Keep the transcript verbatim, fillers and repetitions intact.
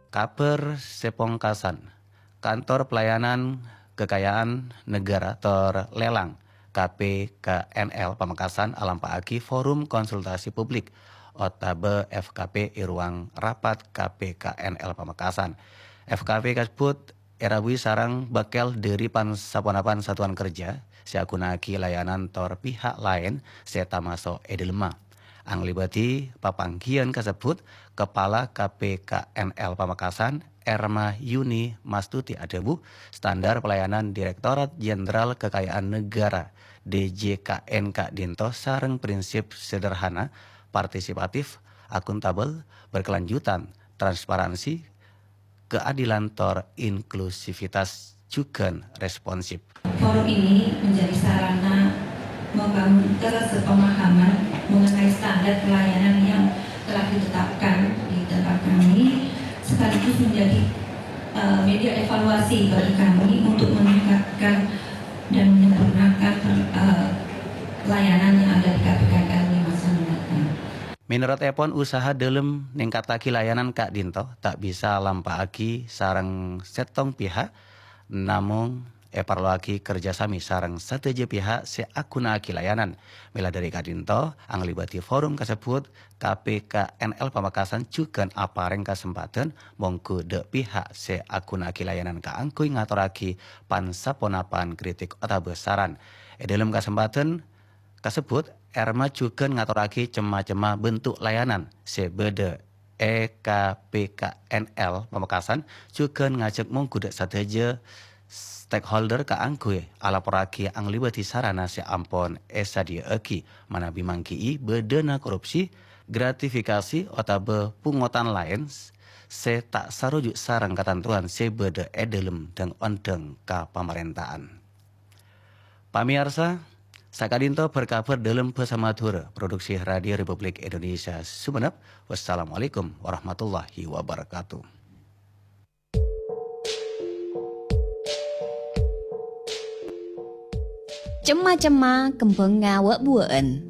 Kabhâr sè pongkasan, Kantor Pelayanan Kekayaan Negara tor Lelang, K P K N L Pamekasan alampa'aghi Forum Konsultasi Publik otabâ F K P è ruang rapat K P K N L Pamekasan. F K P kasebbhut èrabuwi sareng bâkkèl dhâri pan-saponapan satuan kerja sè aghuna'aghi layanan tor pihak laèn sè tamaso' è dhâlemma. Anglèbâdhi papangghiyân kasebbhut, Kepala K P K N L Pamekasan, Erma Yuni Mastuti adhâbu, standar pelayanan Direktorat Jenderal Kekayaan Negara, D J K N, ka'dinto sareng prinsip sederhana, partisipatif, akuntabel, berkelanjutan, transparansi, keadilan tor inklusivitas jughân responsif. Forum ini menjadi sarana membangun kesepahaman mengenai standar pelayanan yang telah ditetapkan di tempat kami, sekaligus menjadi, eh, media evaluasi bagi kami untuk meningkatkan dan menyempurnakan, eh, pelayanan yang ada di K P K N L di masa mendatang. Mènorot èpon, usaha dhâlem nèngkattaghi layanan ka'dinto ta' bisa alampa'aghi sareng sèttong pihak, namong èparlowaghi kerjasami sareng sadhâjâ pihak sè aghuna'aghi layanan. Mèla dhâri ka'dinto, anglèbâdhi forum kasebbhut, K P K N L Pamekasan jughân aparèng kasempadhân mongghu dâ' pihak sè aghuna'aghi layanan kaangghuy ngatorraghi pan-saponapan kritik otabâ saran. È dhâlem kasempadhân kasebbhut, Erma jughân ngatorraghi cem-macemma bentuk layanan sè bâdâ è K P K N L Pamekasan, jughân ngajhâk mongghu dâ' sadhâjâ stakeholder kaangghuy alaporraghi anglèbâdhi sarana sè ampon èsadhiyâ'aghi, manabi mangghi'i bâdâna korupsi, gratifikasi, otabâ pungotan laèn sè ta' saroju' sareng katantowan sè bâdâ è dhâlem dhâng-ondhâng kapamarènta'an. Pamèyarsa, saka'dinto bhâr-kabhâr dhâlem bhâsa Madhurâ, produksi Radio Republik Indonesia Sumenep. Wassalamualaikum warahmatullahi wabarakatuh. Cemma-cemma kembhângnga wâ'-buwâ'ân.